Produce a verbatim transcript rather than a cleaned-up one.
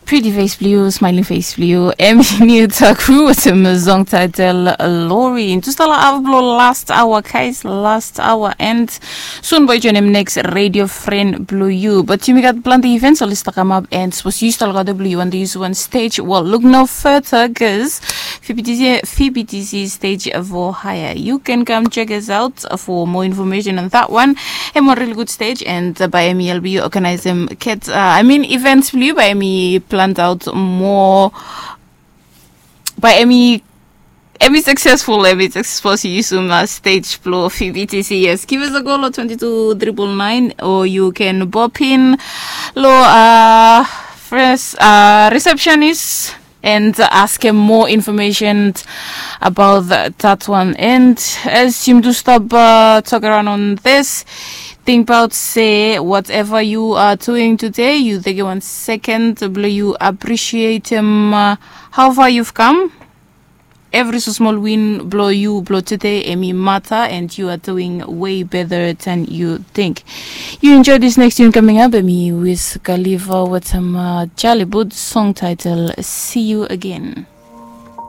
Pretty face blue, smiling face blue, Emmy New Takru with a song title Lori. Just a lot of last hour, guys, last hour. And soon, boy, join him next radio friend blue you. But you got plenty events, so let's talk about and suppose you still got the blue you and use one stage. Well, look no further, because F B T C, F B T C stage for hire. You can come check us out for more information on that one. Hem wan really good stage and uh, by Emmy L B organize him kit uh, I mean events blue by Emmy planned out more by Emmy Emmy successful Emmy successful si use him uh, stage blue F B T C. Yes, give us a call on twenty two triple nine or you can pop in lo uh, first uh, receptionist and ask him more information about that one. And as you do stop uh, talk around on this, think about say whatever you are doing today, you take one second blo you appreciate him uh, how far you've come. Every so small win blo you blo today emi matter and you are doing way better than you think. You enjoy this next tune coming up emi with Khalifa with some uh, Jollywood song title See You Again.